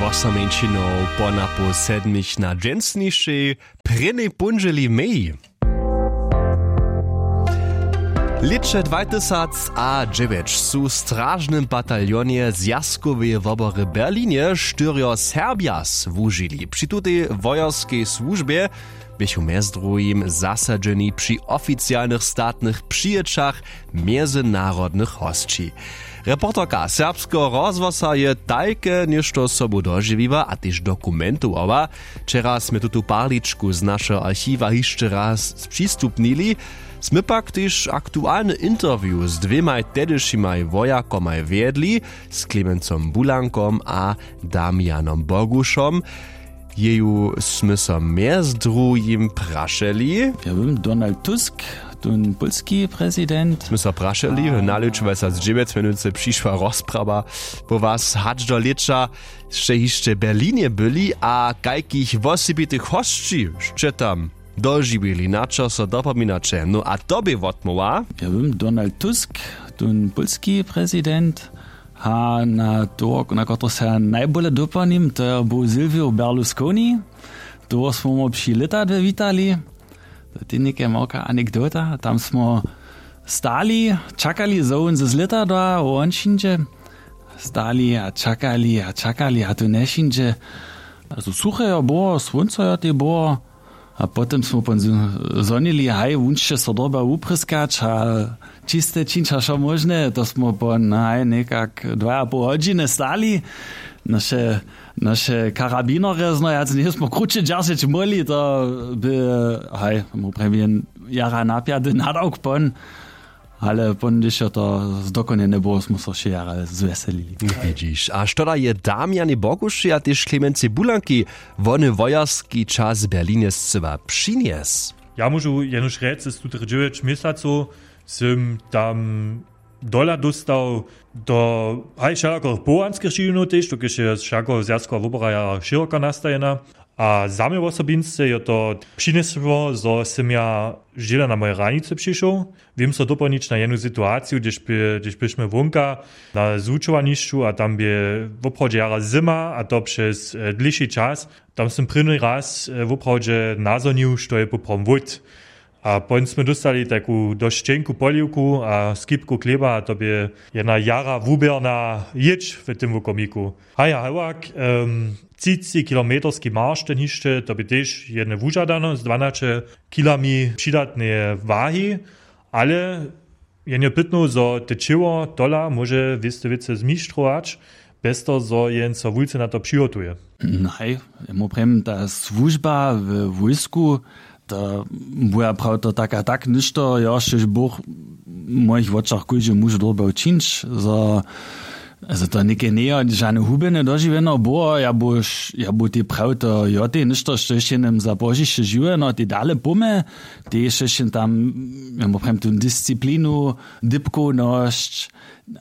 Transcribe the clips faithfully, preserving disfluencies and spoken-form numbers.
Wosa mjeńšinow po napoł sedmich na dźensnišej prěnjej póndźěli mej. Lěće dwatysacadźewjeć su w stražnym bataljonje zwjazkoweje wobory w Berlinje štyrjo Serbja słužili. Při tutej wojerskej słužbje běchu mjez druhim zasadźeni při oficialnych statnych přijěćach mjezynarodnych hosći. Reporterka serbskeho rozhłosa je tajke něšto sobu dožiwiła a tež dokumentowarła. Wčera smy tutu parličku z našeho archiwa hišće raz přistupnili. Smy pak tež aktualny interview z dwěmaj tehdyšimaj wojakomaj wjedli, z Klemencom Bulankom a Damianom Bogušom. Jeju smy so mjez druhim prašeli. Ja bym, Donald Tusk, tón pólski prezident. Smy so prašeli, na lěću dwatysacdźewjeć mjenujcy přišła rozprawa po was hač do lěća. Sće hišće w Berlinje byli a kajkich wosebitych hosći sće tam dožiwili, na čo so dopominaće? No a to bě wotmołwa. Ja bym, Donald Tusk, tón pólski prezident. A na to, na kotrehož se ja najbóle dopomnim, to je był Silvio Berlusconi. Toho smo mu při lětadłe witali. To je něke małka anekdota. Tam smo stali, čakali, zo wón z lětadła won přińdźe. Stali a čakali a čakali a tu njepřińdźe. A to suche jo było, słónco jo tej było. A potom smo pon z-, zhonili, haj, wón sće so dyrba wuprěskać a čiste čińć a wšo móžne. To smo pon, haj, někak dwajapoł hodźiny stali. Naše, naše karabinerje, no, ja, njesmo kruće dźeržeć móhli, to by, haj, móhł prjewjen jara napjady nadawk pon. Ale pon, hdyž jo to zdokonjene było, smy so wšě jara zwjeselili. Widźiš. A što da je Damianej Boguši a tež Klemencej Bulanki wony wojerski čas w Berlinje scyła přinjes? Ja móžu jenož rjec, z tutych dźewjeć měsacow sym tam dola dóstał do, haj, wšelakorych powołanskich dźiwinow tež, dokelž je wšako zwjazkowa wobora jara šěroko nastajena. A za mnje wosobinsce je to přinjesło, zo sym ja žila na moje hranicy přišoł. Wěm so dopołnić na jednu situaciju, hdyž bě-, hdyž běšmy wonka na zwučowanišću a tam bě woprawdźe jara zima, a to přez, e, dlěši čas. Tam sym prěni raz, e, woprawdźe nazhonił, što je poprawom wót. A pon smy dóstali taku dosć ćenku poliwku a skipku chlěba, a to bě jedna jara wuběrna jědź w tym wukomiku. Haja, hewak, em, třicećkilometerski marš ten hišće, to bě tež jedne wužadane z dwanaće kilami přidatneje wahi, ale jen je pytnow, zo te ćěło tola móže wěste wěcy zmištrować, bjez toho, zo jen so wulce na to přihotuje. Naj, ja mu prjem, ta słužba w wójsku, to buja prawda tak a tak něšto, jo, štož Bóh w mojich wočach kóždy muž dyrbjał čińć, zo, zo to něke njejo žane hubjene dožiwjeno było, ja bu, ja bu tej prawda, jo, tej něšto, štož je nam za pozdźišće žiwjeno, tej dale pómy, tej štož je tam, ja mu prjem, tu disciplinu, dypkownosć,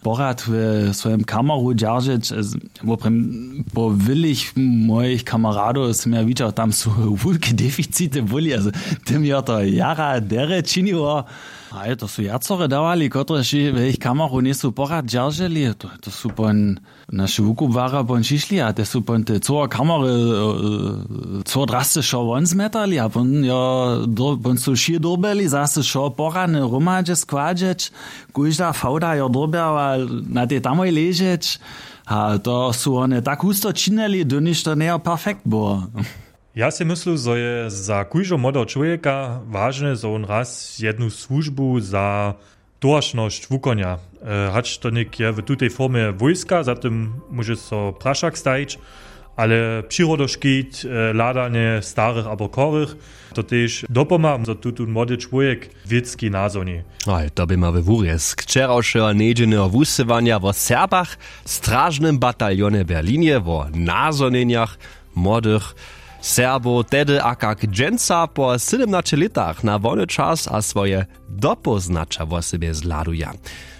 porad w swojim kameru dźeržeć, e, z-, woprawdźe po wylych mojich kameradow sym ja widźał, tam su wulke deficity byli, a z-, tym jo to jara derje činiło. A je to su wjacore dawali, kotrež w jich kameru njejsu porad dźerželi, to, to su pon naše wukubłarjo pon přišli a te su pon te cyłe kamery, e, cyło drasce wšo won zmjetali a pon jo, do-, pon su wšě dyrbjeli zase wšo porane hromadźe składźeć. Kóžda fałda jo dyrbjała na tej tamoj ležeć. A to su wone tak husto činili, dyrniž to njejo perfekt było. Ja sej myslu, zo je za kóždeho młodeho čłowjeka wažne, zo wón raz jednu słužbu za towaršnosć wukonja. E, hač to něk je w tutej formje wójska, za tym móže so prašak stajić, ale přirodoškit, e, hladanje starych abo chorych, to tež dopomha, zo tutón młody čłowjek wěcki nazhoni. Haj, to bě ma we wurězk wčerawšeho njedźelneho wusyłanja wo Serbach w stražnym bataljonje w Berlinje, wo nazhonjenjach młodych Serbow tehdy a kak dźensa po sydomnaće lětach na wolny čas a swoje dopóznaća wosebje zhladuja.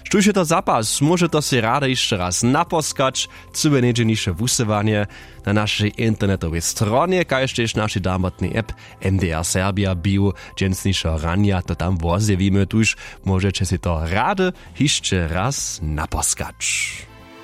Štóž je to za pas, móže to sej rady hišće raz naposkać. Cyłe njedźelniše wusyłanje na našej internetowej stronje, kaž tež našej damotnej app M D R Serbia běhu dźensnišeho ranja, to tam wozjewimy, tuž móžeće sej to rady hišće raz naposkać.